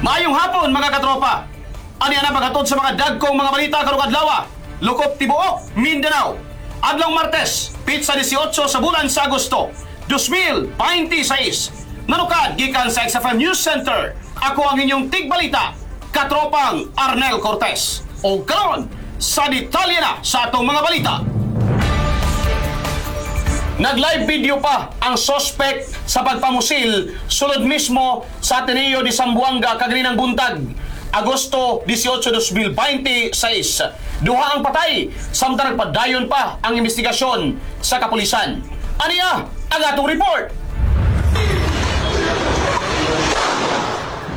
Maayong hapon, mga katropa. Ani na paghatod sa mga dagkong mga balita karong adlaw. Lukop tibuok Mindanao. Adlong Martes, petsa 18 sa bulan sa Agosto, 2026. Nanukad gikan sa XFM News Center. Ako ang inyong tigbalita, Katropang Arnel Cortez. O karon, sa detalye na sa atong mga balita. Nag-live video pa ang suspect sa pagpamusil sulod mismo sa Ateneo de Zamboanga kaganinang buntag, Agosto 18, 2026. Duha ang patay samtang nagpadayon pa ang investigasyon sa kapulisan. Aniya ang atong report.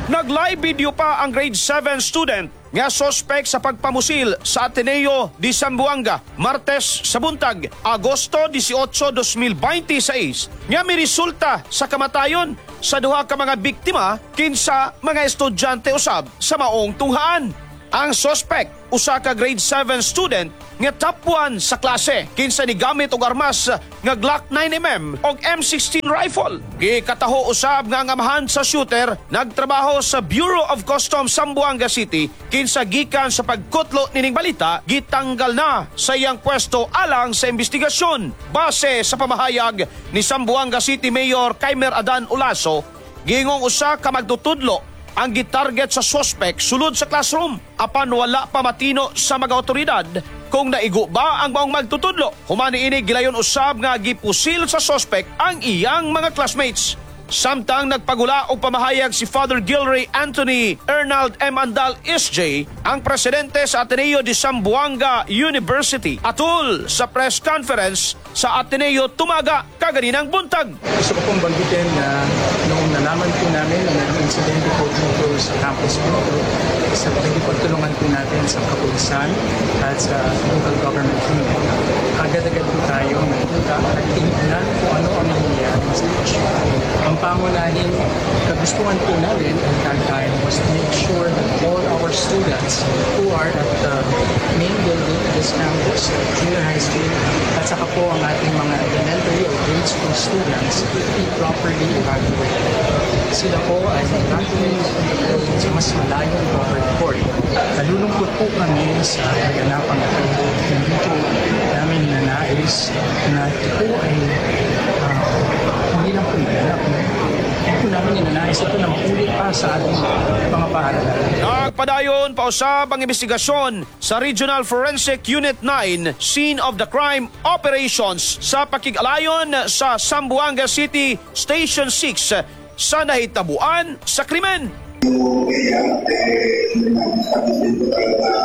Nag-live video pa ang grade 7 student nga suspect sa pagpamusil sa Ateneo de Zamboanga Martes sa buntag, Agosto 18, 2026, nga miresulta sa kamatayon sa duha ka mga biktima kinsa mga estudyante usab sa maong tunghaan. Ang suspect, usa ka grade 7 student nga top 1 sa klase, kinsa ni gamit og armas nga Glock 9 mm og M16 rifle. Gikataho usab nga ang amahan sa shooter nagtrabaho sa Bureau of Customs, Zamboanga City, kinsa gikan sa pagkutlo nining balita gitanggal na sa iyang pwesto alang sa investigasyon. Base sa pamahayag ni Zamboanga City Mayor Kaimer Adan Olaso, gingong usa ka magtutudlo ang gitarget sa suspect sulod sa classroom, apan wala pa matino sa mga otoridad kung naigo ba ang maong magtutudlo. Human niini, gilayon usab nga gipusil sa suspect ang iyang mga classmates. Samtang nagpagula og pamahayag si Father Gilray Anthony Ernald M. Andal SJ, ang presidente sa Ateneo de Zamboanga University, atul sa press conference sa Ateneo Tumaga kaganinang buntag. Gusto ko pong banggitin na noong nalaman po namin na mayroong insidente po dito sa campus po ito, sa pakikipagtulungan po natin sa kapulisan at sa local government unit, agad-agad po tayo nagpunta at tinignan kung ano ang nangyayaring sitwasyon. Ang pangunahing kagustuhan po namin at that time was to make sure that all our students who are at the main building of this campus, junior high school, at saka po ang ating mga elementary or grade school students be properly evacuated. Sila po ay evacuated sa mas malayong covered court. Nalulungkot po kami sa kaganapang ito. Hindi po namin ninanais na ito po ay hindi lang po naganap. No? Hindi po namin ninanais ito na maulit pa sa ating mga paaralan. Nagpadayon pausab ang investigasyon sa Regional Forensic Unit 9 Scene of the Crime Operations sa pakig-alayon sa Zamboanga City Station 6 sa nahitabuan sa krimen. Yung area, eh, sabi ko talaga na